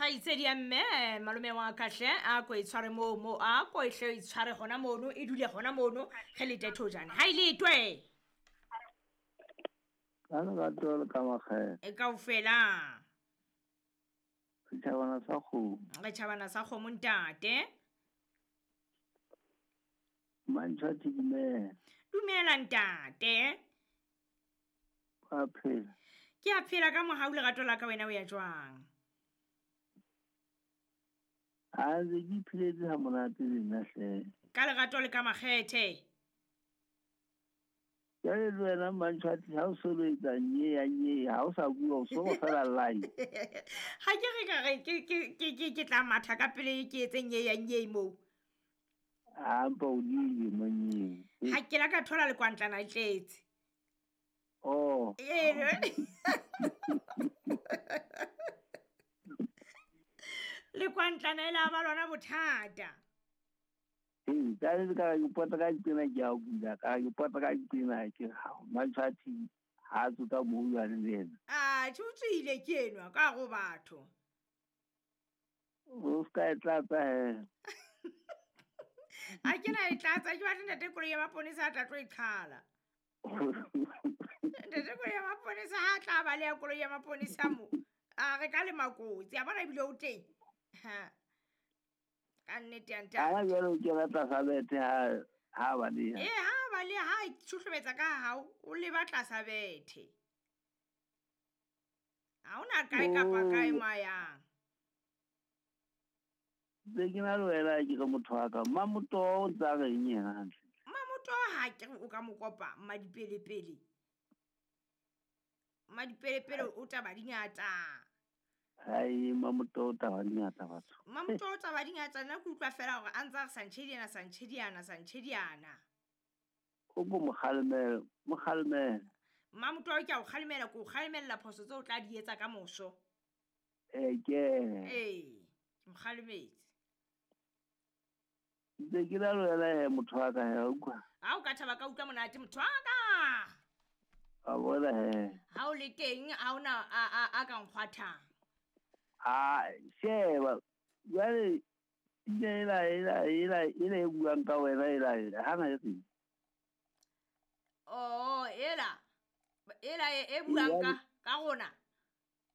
Kgaitsedi ya mme, malome wa ka hle, a ko e tshware moo mo, a ko e hle e tshware hona mono, e dule hona mono, re lete thojane. Ha e letwe. Ka lerato le ka makgethe. E kaofela. Setjhabana sa kgomo. Re tjhabana sa kgomo ntate. Mantshwati dumela. Dumela ntate. Wa phela. Ke a phela ka mohau lerato la ka, wena o ya jwang? A ntse ke ipheletse ha monate le nna hle. Ka lerato le ka makgethe. Jwale le wena Mantshwati ha o so lo etsa nye ya nye, ha o sa bua o so go fela line. Ha ke re ka re ke tla matha ka pele ke etse nye ya nye moo. A mpa o diile monyeng. Ha ke la ka thola le kwantlana e tletse. Oh. Ee. Le kwantlana e la ba lona bothata. Ee, ka le ka ke pota ka tsena ke a bula, ka ke pota ka tsena ke ha Mantshwati ha tswa ka mo jwale le yena. A tjhe o tswile ke enwa ka go batho. O ska e tlatsa he. A ke na e tlatsa, ke batla ntate koloi ya maponesa a tla tlo e qhala. Ntate koloi ya maponesa ha tla ba le ya koloi ya maponesa mo. A re ka le makotsi, a bona ebile o teng. Ha. Ka nnete ya ntate. Ha jwale o kena tlasa bethe ha ba le. Ee, ha ba le ha tshuhlometsa ka hao, o leba tlasa bethe. Ha ona kae kapa kae mo a yang. Be ke na le wena ke re motho wa ka. Mmamoto o ntsa reng yena hantle? Mmamoto ha ke re o ka mo kopa Mmadipelepele. Mmadipelepele o taba di ngata. Hai, Mmamoto o taba di ngata batho. Mmamoto o taba di ngata, nna ke utlwa fela hore a ntsa re santšhediana, santšhediana, santšhediana. O ko mo kgalemele, mo kgalemele. Mmamoto ke a o kgalemela, ke o kgalemella phoso tseo o tla di etsa ka moso. Ee, ke. Ee, ke mo kgalemetse. Ntse ke na le wena he, motho wa ka he, wa utlwa? Ha o ka thaba ka utlwa monate, motho wa ka. Wa bona he. Ha o le teng, ha ona a ka nkgwathang. A sheba, jwale pina ela e buang ka wena ela, ha na e reng? Oh, ela e buang ka rona.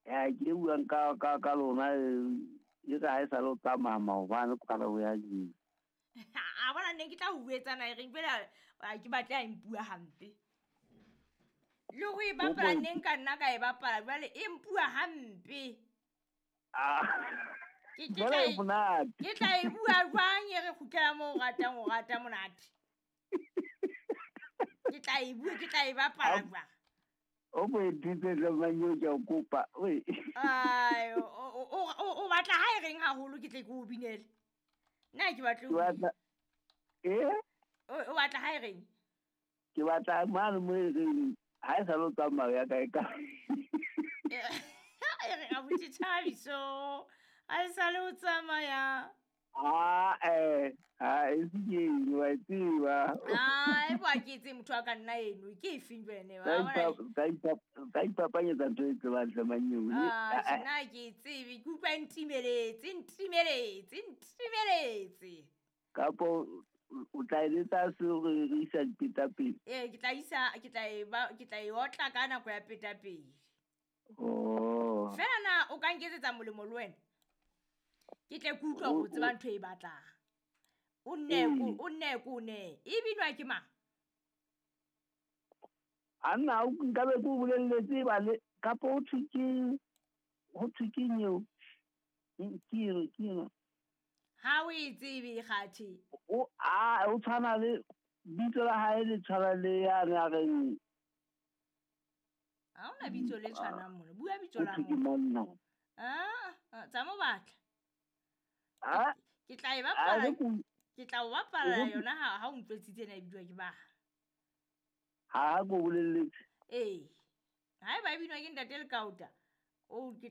Ya, ke e buang ka lona, e re ha e sa le o tsamaya maobane kwala o ya jeng. A bona nne ke tla o buetsa na e reng, fela, a ke batle a mpua hampe. Le ho e bapala nne nka nna ka e bapala, jwale e mpua hampe. Ah. Ke Jwale tla e monate. Ke tla e bua jwang e re kgutlela moo o ratang, o rata monate. Ke tla e bua, ke tla e bapala jwang? O mo ethitse hle mang eo ke a o kopa, oi. Ai, o batla ha e reng haholo ke tle ke o binele. Nna ke batle Ke batla, eh? O batla ha e reng? Ke batla mane mo e reng, ha e sa le o tsamaya ya kae kae. E re abuti Thabiso, ha e sa le o tsamaya. Ah, ha e se ke eng, wa e tseba. Ah, e boa ke etse motho wa ka nna eno, ke e feng jwale? Ka ipapanyetsa ntho e tsebang hle mang eo. Ah, nna ke e tsebe, ke utlwa e ntimeletse, ntimeletse, ntimeletse. Kapo o tla e letsa se re re isa dipetapele? Ee, ke tla isa, ke tla e ba, ke tla e otla ka nako ya petapele. Oh. Fela na o ka nketsetsa molemo le wena? Ke tle ke utlwa hore o tseba ntho e batlang. O nne ko, o nne ko ne. E binwa ke mang? A nna, o nka be ke o bolelletse ba le, kapo ho thwe ke, ho thwe ke eng eo? Ke eng, ke eng? Ha o e tsebe, kgathe. O, a, o tshwana le, bitso la hae le tshwana le yane a reng. Ha hona bitso le tshwanang mona. Bua bitso la Ho thwe ke motho. monna. Ah, ah, tsa mo batla. Ah? Ke tla e Ah, bapala. re ko- Ke tla o bapala Re ko- yona ha o ntwetsitse ena e bidiwa ke ba. Ha ko bolelletse. Ee. Ha eba e binwa ke ntate Lekaota, o ke